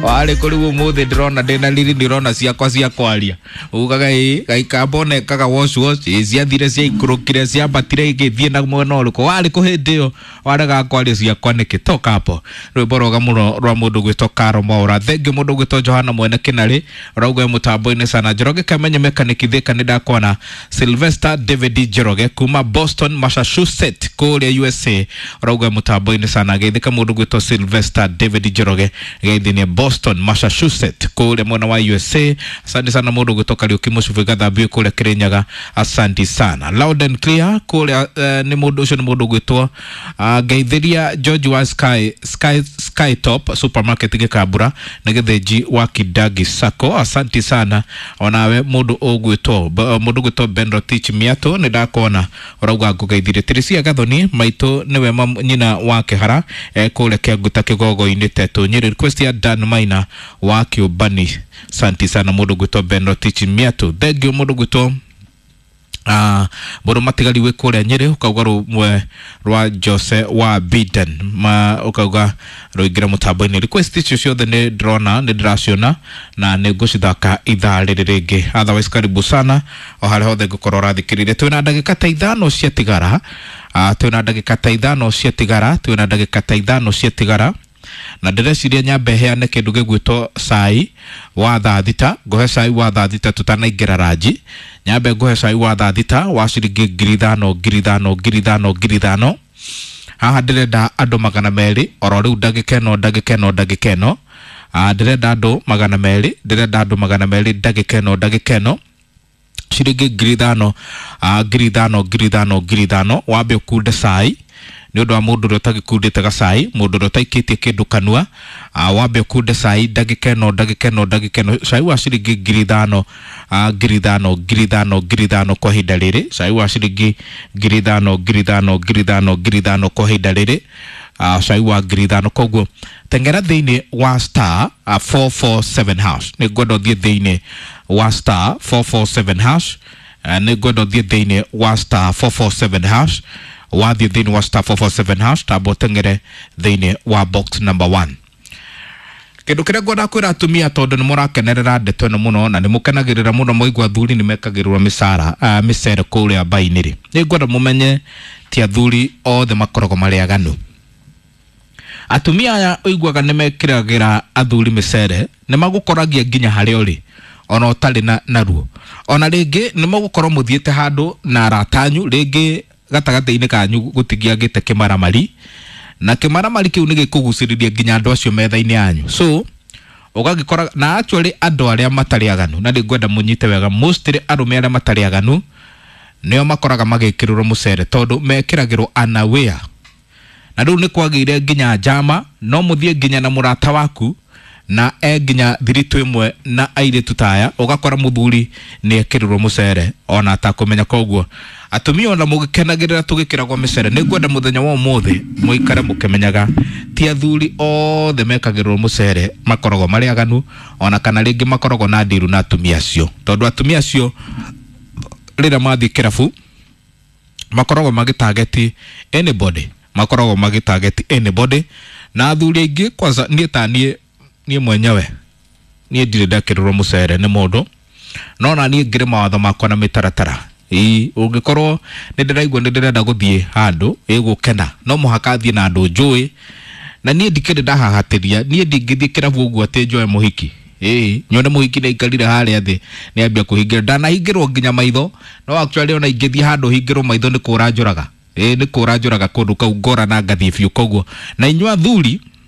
Warĩ kũ rĩu ũmũthĩ ndĩrona ndĩna riri, ndĩrona ciakwa cia kwaria ugaga ĩ gaikamba ona ekaga wash wash ĩ ciathire ciaikũrũkire ciambatire igĩthiĩ na mwena ũrĩkũ warĩ kũ hĩndĩ ĩyo waregaga kwaria ciakwa nĩkĩ? Toka hapo. Rwĩmbo rwega mũno rwa mũndũ gwĩtwo Karo Mwaura. Thengiũ mũndũ gwĩtwo Johana Mwene Kĩnarĩ ũrauga e mũtambo-inĩ sana. Njoroge Kamenye Mechanic Thika nĩ ndakuona. Sylvester David Njoroge kuma Boston, Massachusetts kũrĩa USA ũrauga e mũtambo-inĩ sana. Geithĩka mũndũ gwĩtwo Sylvester David Njoroge geithĩnie Boston, Massachusetts kũrĩa mwena wa USA. Asante sana mũndũ gwĩtwo Kariũki Mũcubi Gathambio kũrĩa Kĩrĩnyaga, asante sana. Loud and clear kũrĩa nĩ mũndũ ũcio nĩ mũndũ gwĩtwo ngeithĩria George wa Sky, Sky, Sky Top Supermarket Gĩkambura nĩ Gĩthĩnji wa Kidagi Sacco, asante sana. Onawe mũndũ ũgwĩtwo mũndũ gwĩtwo Ben Rotich Miato nĩ ndakuona ũrauga ngũgeithirie. Tirisia Gathoni maitũ nĩwe nyina wa Kĩhara kũrĩa Kĩanguta Kĩgogo-inĩ Tetũ Nyĩrĩ. Request ya Dan Maina wa Kĩũmbani, asante sana mũndũ gwĩtwo Ben Rotich Miato. Thank you mũndũ gwĩtwo mũndũ matigari wĩ kũrĩa Nyĩrĩ ũkauga rũmwe rwa Jose wa Biden ma ũkauga rũingĩre mũtambo-inĩ. Request icio ciothe nĩ ndĩrona, nĩ ndĩraciona na nĩ ngũcithaka ithaa rĩrĩ rĩngĩ. Otherwise karibu sana o harĩa hothe ngũkorwo ũrathikĩrĩria. Twĩna ndagĩka ta 5 ciatigara, twĩna ndagĩka ta 5 ciatigara, twĩna ndagĩka ta 5 ciatigara na ndĩreciria nyambe heane kĩndũ gĩgwĩtwo cai wa thaa 6. Ngũhe cai wa thaa 6 tũtanaingĩra ranji. Nyambe ngũhe cai wa thaa 6 wa ciringi 5,000 5,000 5,000 5,000. Haha ndĩrenda andũ 200 oro rĩu ndagĩka ĩno, ndagĩka ĩno, ndagĩka ĩno. Ndĩrenda andũ 200, ndĩrenda andũ 200 ndagĩka ĩno, ndagĩka ĩno, ciringi 5,000, 5,000 5,000 5,000. Wambe ũkunde cai nĩ ũndũ wa mũndũ ũrĩa ũtagĩkundĩte gacai, mũndũ ũrĩa ũtaikĩtie kĩndũ kanua. Wambe ũkunde cai ndagĩka ĩno, ndagĩka ĩno, ndagĩka ĩno, cai wa ciringi 5,000, 5,000 5,000 5,000 kwa ihinda rĩrĩ, cai wa ciringi 5,000 5,000 5,000 5,000 kwa ihinda rĩrĩ, cai wa 5,000. Koguo tengera thĩinĩ wa star 447 hash. Nĩ ngwenda ũthiĩ thĩinĩ wa star 447 hash. Nĩ ngwenda ũthiĩ thĩinĩ wa star 447 hash. Wathiĩ thĩinĩ wa star 447 hash, tamba ũteng'ere thĩinĩ wa box number 1. Kĩndũ kĩrĩa ngwenda kwĩra atumia, tondũ nĩ mũrakenerera ndeto ĩno mũno na nĩ mũkenagĩrĩra mũno mwaigua athuri nĩ mekagĩrĩrwo mĩcara mĩcere kũrĩa mbainĩ rĩ, nĩ ngwenda mũmenye ti athuri othe makoragwo marĩ aganu. Atumia aya ũiguaga nĩ mekĩragĩra athuri mĩcere nĩ magũkoragia nginya harĩa ũrĩ ona ũtarĩ na naruo. Ona rĩngĩ nĩ mũgũkorwo mũthiĩte handũ na arata anyu, rĩngĩ gatagatĩ-inĩ kanyu gũtingĩagĩte kĩmaramari, na kĩmaramari kĩu nĩ gĩkũgucĩrĩria nginya andũ acio metha-inĩ yanyu. So ũgagĩkora na actually andũ arĩa matarĩ aganu, na nĩngwenda mũnyite wega, mostly arũme arĩa matarĩ aganu nĩo makoraga magĩkĩrĩrwo mũcere tondũ mekĩragĩrwo unaware. Na rĩu nĩ kwagĩire nginya njama, no mũthiĩ nginya na mũrata waku na e nginya thiritũ ĩmwe na airĩtu taya, ũgakora mũthuri nĩ ekĩrĩrwo mũcere ona atakũmenya. Koguo atumia ona mũgĩkenagĩrĩra tũgĩkĩragwo mĩcere, nĩ ngwenda mũthenya wa ũmũthĩ mũikare mũkĩmenyaga ti athuri othe mekagĩrĩrwo mũcere makoragwo marĩ aganu, ona kana rĩngĩ makoragwo na ndiru na atumia acio, tondũ atumia acio rĩrĩa mathiĩ kĩrabu makoragwo magĩtageti anybody, makoragwo magĩtageti anybody. Na athuri aingĩ, kwanza niĩ ta niĩ, niĩ mwenyewe niĩ ndirĩ ndekĩrĩrwo mũcere nĩ mũndũ, no na niĩ ngĩrĩ mawatho makwa na mĩtaratara. Ĩĩ, ũngĩkorwo nĩ ndĩraigua nĩ ndĩrenda gũthiĩ handũ ĩgũkena, no mũhaka thiĩ na andũ njũĩ, na niĩ ndikĩrĩ ndahahatĩria. Niĩ ndingĩthiĩ kĩrabu ũguo atĩ njoe mũhiki, ĩĩ nyone mũhiki nĩ aikarire harĩa thĩ nĩ ambia kũhingĩra. Ndanahingĩrwo nginya maitho, no actually ona ingĩthiĩ handũ hingĩrwo maitho nĩ kũra njũraga, ĩĩ nĩ kũra njũraga kũndũ kau ngora na ngathiĩ biũ. Koguo na inyuĩ athuri